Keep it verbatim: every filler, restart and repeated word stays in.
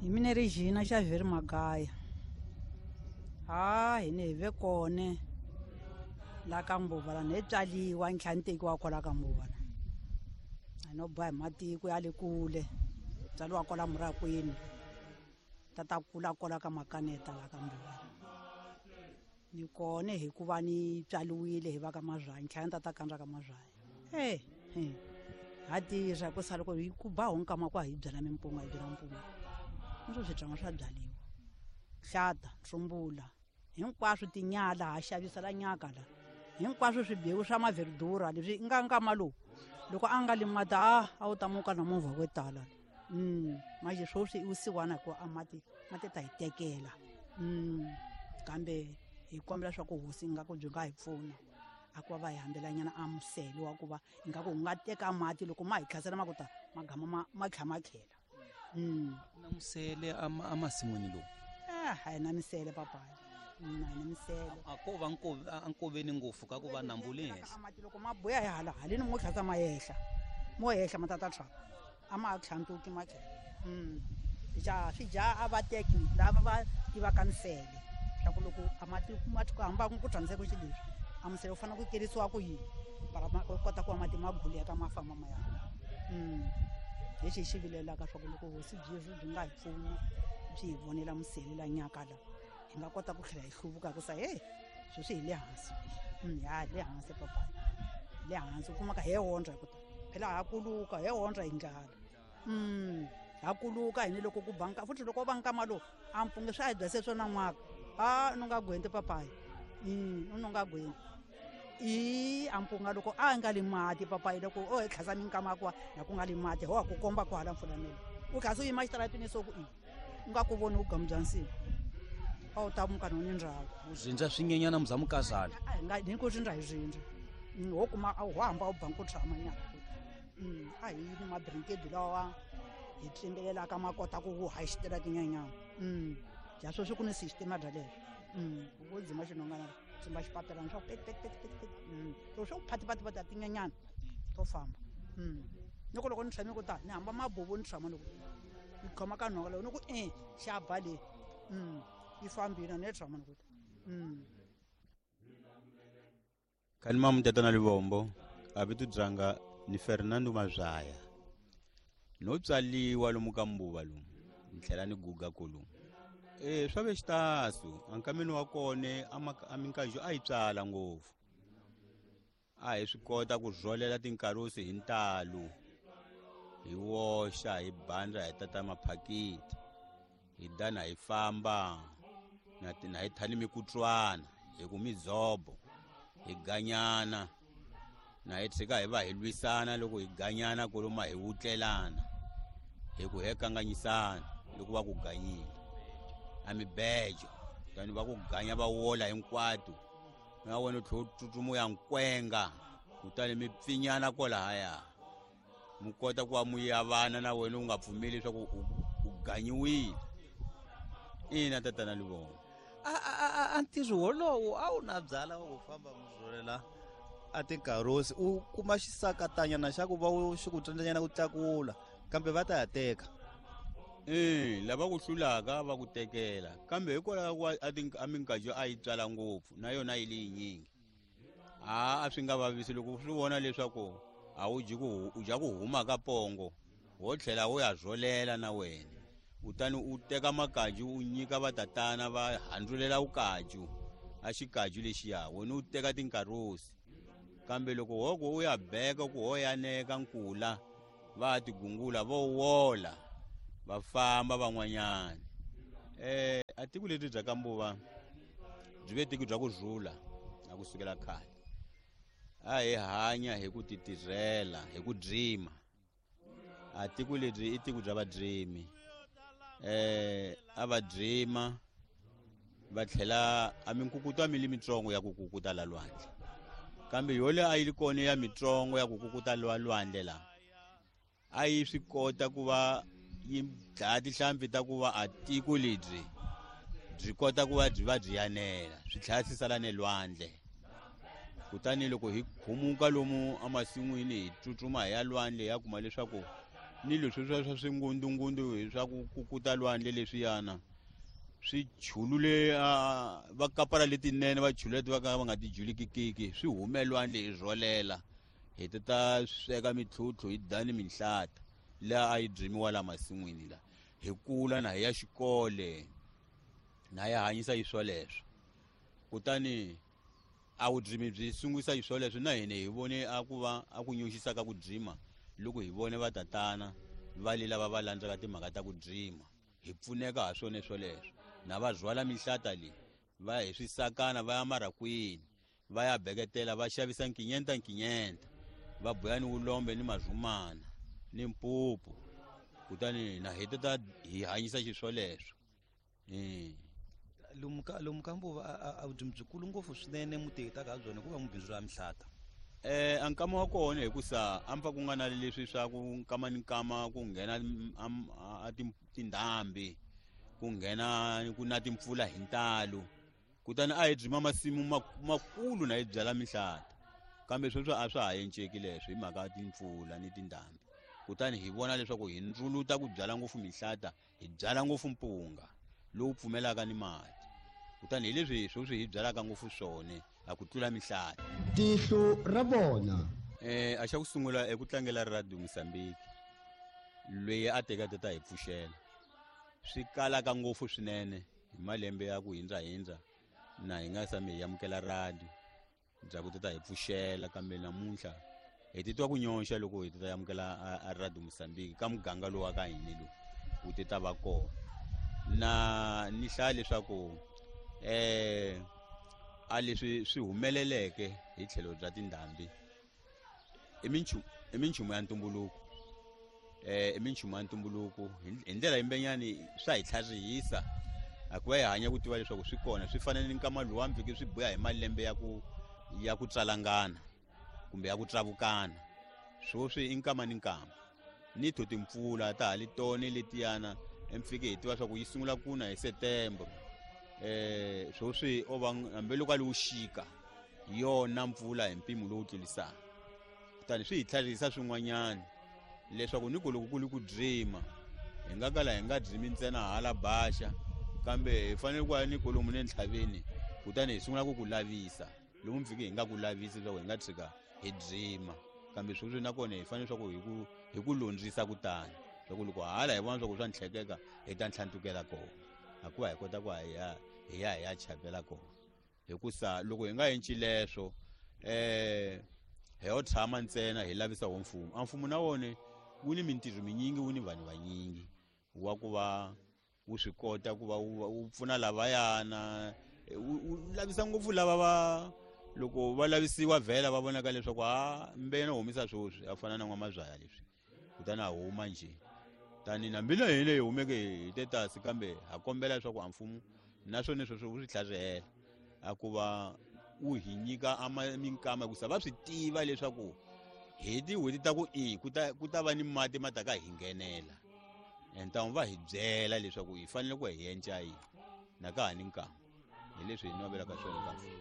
Hi mina Regina Xavier Magaya. Ha hi ne hi ve kone la ka Mbuva la ni tswaliwa ni tlhela ni tekiwa kwala ka Mbuva la. A no boha hi matiko ya le kule, tswaliwa kwala Murakwini, tata kula kwala ka Makaneta la ka Mbuva. Ni kone hikuva ni tswaliwile hi va ka Mazwani, ni tlhela ni tata kandza ka Mazwani. Eh, eh. Ha tirha ku sala ku hi ku ba ho nkama ku hi byala mimpunga, hi byala mpunga. Ni swi tswanga swa byaliwa. Hlata, ntsumbula, hinkwaswo tinyala ha xavisa la nyaka la. Hinkwaswo swibewu swa maverdura leswi nga nkama lowu. Loko a nga li mati a a wu ta muka na movha wo tala. Mm, manje sweswi i vusiwana ku a mati mati ta hi tekela. Mm, kambe hi kombela swa ku hosi ingaku byi nga hi pfuna. A ku va va hi hambelanyana a musele wa ku va ingaku wu nga teka mati loko ma hi tlhasela ma ku ta magama ma ma tlha ma tlhela. Mm. Na musele a ma, a masin'wini lowu? Ah, a hi na misele papayi. Mm, a hi na misele. A ko va nko-, a nkoveni ngopfu ka ku va nambu le henhla. A mati loko ma buya hi hala haleni mo tlhasa ma yehla. Mo yehla ma tata tlhaka. A ma tlhantuki ma tlhela. Mm. Ja swi dya a va teki lava va tivaka misele. Swa ku loko a mati ma ku hamba ku tshamiseka xi leswi. A musele wu fanele ku kerisiwa ku yini? Para ma kota ku va mati ma guleka ma famba ma ya. Mm. Lexi hi xi vilelaka swa ku loko hosi byi byi nga hi pfuna byi hi vonela musele la nyaka la, hi nga kota ku tlhela hi hluvuka ku sa hey, sweswi hi le hansi. Mm, ya le hansi papa. Le hansi u kumaka he hondza ku ta. Phela ha kuluka, he hondza hi ndlala. Mm, ha kuluka hi ni loko ku banka, futhi loko va nkama lowu, a mpunge swa hi byase swona n'waka. Ah, no nga gwenti papayi. Mm, no nga gwenti. I a mpunga loko a nga li mati papayi loko o hi tlhasa minkama kwa na ku nga li mati ho ku komba ku hala mfulanelo. U tlhasa u yima xitaratini so ku i u nga ku voni u gamu bya nsimu. A wu ta muka no ni ndhawu. U zindza swinyenyana muza mukazana. A hi nga ni ku zindza hi zindza. Mm, ho kuma a ho hamba u banku tshama nyana. Mm, a hi ni mabrinkedi lawa hi tlimbelelaka ma kota ku wu ha xitaratini nyana. Mm, ja sweswi ku ni system bya leswi. Mm, wo dzima xinongana tsimba xipapelana swa pet pet pet pet pet. Mm, loko swo phati phati phati tinyenyana to famba. Mm. Loko loko ni tshame ku ta ni hamba mabubu ni tshama loko ni khoma ka nhonga loko ni ku eh xa ba le. Mm, yi fambile ni tshama ni ku ta. Mm. Kanima mutata na Livombo a vito dzanga ni Fernando Mazwaya. No tswaliwa lomu ka Mbuva lomu, ni tlhela ni guga kolomu. Eh, swa ve xitasu, ankameni wa kone, a ma-, a minkajo a yi tswala ngopfu. A hi swi kota ku rholela tinkarusi hi ntalo, hi woxa, hi bandza, hi tata maphakiti, hi dana hi famba, na ti-, na hi thani mikutswana, hi ku midzobo, hi ganyana, na hi tshika hi va hi lwisana loko hi ganyana koloma hi wutlelana, hi ku he kanganyisana loko va ku ganyile. A mibejo, kutani va ku ganya va wola hinkwato, na wena u tlhela u tsutsuma u ya nkwenga, kutani mi pfinyana kwalahaya. Mi kota ku va mu yavana na wena u nga pfumeli leswaku u, u ganyiwile. Ina tatana Livombo. A, a, a, a, a ntirho wolowo a wu na byala wa ku famba mu rholela a tinkarusi, u kuma xisakatanyana xa ku va u xi ku tsandzanyana ku tlakula, kambe va ta ya teka. Eh, lava ku hlulaka va ku tekela, kambe hikwalaho ka a ti-, a minkajo a yi tswala ngopfu na yona yi le yinyingi. A, a swi nga vavisi loko swi vona leswaku a wu dyi ku hu-, u dya ku huma ka pongo, wo tlhela u ya rholela na wena. Kutani u teka makaju u nyika vatatana va handzulela vukaju, a xikaju lexiya, wena u teka tinkarusi. Kambe loko ho ku u ya beka ku ho yaneka nkula, va tigungula vo wola, va famba van'wanyana. Eh, a tiko leri bya ka Mbuva byi ve tiko bya ku rhula na ku sukela khale. A hi hanya hi ku titirhela, hi ku dzima. A tiko leri i tiko bya vadzimi. Eh, a va dzima va tlhela a minkukuto a mi li mitsongo ya ku kukuta la lwandle. Kambe yole a yi li kona ya mitsongo ya ku kukuta la lwandle la, a yi swi kota ku va yi dlaya tihlampfi ta ku va a tiko lebyi byi kota ku va byi va byi yanela, swi tlhela swi sala ne lwandle. Kutani loko hi khumuka lomu emasin'wini hi tsutsuma hi ya lwandle hi ya kuma leswaku Ni leswi swa swa swingundungundu hi swa ku kukuta lwandle leswiyana swi chulule va kapara letinene va chulule leti va ka va nga ti julikikiki swi hume lwandle hi rholela hi ta ta sweka mitlhutlhu hi dani minhlata laha a yi byimiwa la masin'wini la hi kula na hi ya xikole na ya hanyisa hi swoleswo. Kutani a vudzimi byi sungurisa hi swoleswo na hina hi vone a ku va a ku nyuxisa ka ku dzima loko hi vone vatatana va le lava va landzaka timhaka ta ku dzima hi pfuneka ha swona swoleswo. Na va rhwala minhlata leyi va ya hi swisakana va ya marakwini va ya beketela va xavisa nkinyenta nkinyenta va buya ni vulombe ni mazumana ni mpupu kutani na hi ta hi hanyisa xiswoleswo. Lomu ka lomu ka Mbuva a vudzimi byikulu ngopfu swinene muti ta ka byona ku va mubindzu ra mihlata. Eh a nkama wa kona hikusa a mpfa ku nga na leswi swa ku nkama ni nkama ku nghena a tindhambi ku nghena ku na timpfula hi ntalo kutani a hi byima masimu makulu na hi byala mihlata kambe sweswo a swa ha enceki leswo hi mhaka ya timpfula ni tindhambi. Kutani hi vona leswaku hi ndzuluta ku byala ngopfu mihlata hi byala ngopfu mpunga lowu pfumelaka ni mati kutani hi leswi sweswi hi byalaka ngopfu swona a ku tlula mihlata. Tihlo ra vona. Eh a xa ku sungula eku tlangela Radio Mozambique loyi a teka tata hi pfuxela swi kalaka ngopfu swinene hi malembe ya ku hindza hindza na hi nga sami hi amukela radio bya ku tata hi pfuxela kambe namuntlha hi titwa ku nyonxa loko hi tata amukela a Radio Mozambique ka muganga lowu wa ka hina lowu wu ti ta va kona. Na ni hlaya leswaku eh a leswi swi humeleleke hi tlhelo bya tindhambi i minchumu i minchumu ya ntumbuluko eh i minchumu ya ntumbuluko hi ndlela yimbenyani swa hi tlharihisa a ku va hi hanya ku tiva leswaku swi kona swi fanele ni nkama luwa mpfike swi buya hi malembe ya ku ya ku tsalangana kumbe ya ku tsavukana swoswi i nkama ni nkama ni tho timpfula ta ha li tone letiyana emfike hi tiva swa ku yi sungula ku na hi September eh swoswi o va hambi loko a li wuxika yona mpfula hi mpimo lowu tlulisaka. Kutani swi hi tlharihisa swin'wanyana leswaku ni ku loko ku li ku dzima hi nga kala hi nga dzimi ntsena hala baxa kambe hi fanele ku ya ni kolomu ne ntlhaveni kutani hi sungula ku ku lavisa lomu mpfike hi nga ku lavisi leswaku hi nga tshika hi dzima kambe sweswi nakona hi fanele swa ku hi ku hi ku londzisa kutani swa ku loko hala hi vona swa ku swa ntlhekeka hi ta ntlhantukela kona hikuva hi kota ku hi ya hi ya hi ya chapela kona hikusa loko hi nga enci leswo eh hi yo tshama ntsena hi lavisa wo mfumo a mfumo na wona wu ni mintirho minyingi wu ni vanhu vanyingi wa ku va wu swi kota ku va wu pfuna lavayana wu lavisa ngopfu lava va loko va lavisiwa vhela va vonaka leswaku a mbena humisa swoswi a fana na n'wamazwaya leswi kutani a huma njhe tani na mbila hi leyi humeke hi tetasi kambe ha kombela leswaku a mfumo naswona sweswo wu swi tlharihela a ku va wu hi nyika a minkama hikusa va swi tiva leswaku hi tin'hweti ta ku i ku ta ku ta va ni mati ma ta ka hi nghenela entamu va hi byela leswaku hi fanele ku hi enca yini na ka ha ni nkama hi leswi hi navelaka swona ka mfumo.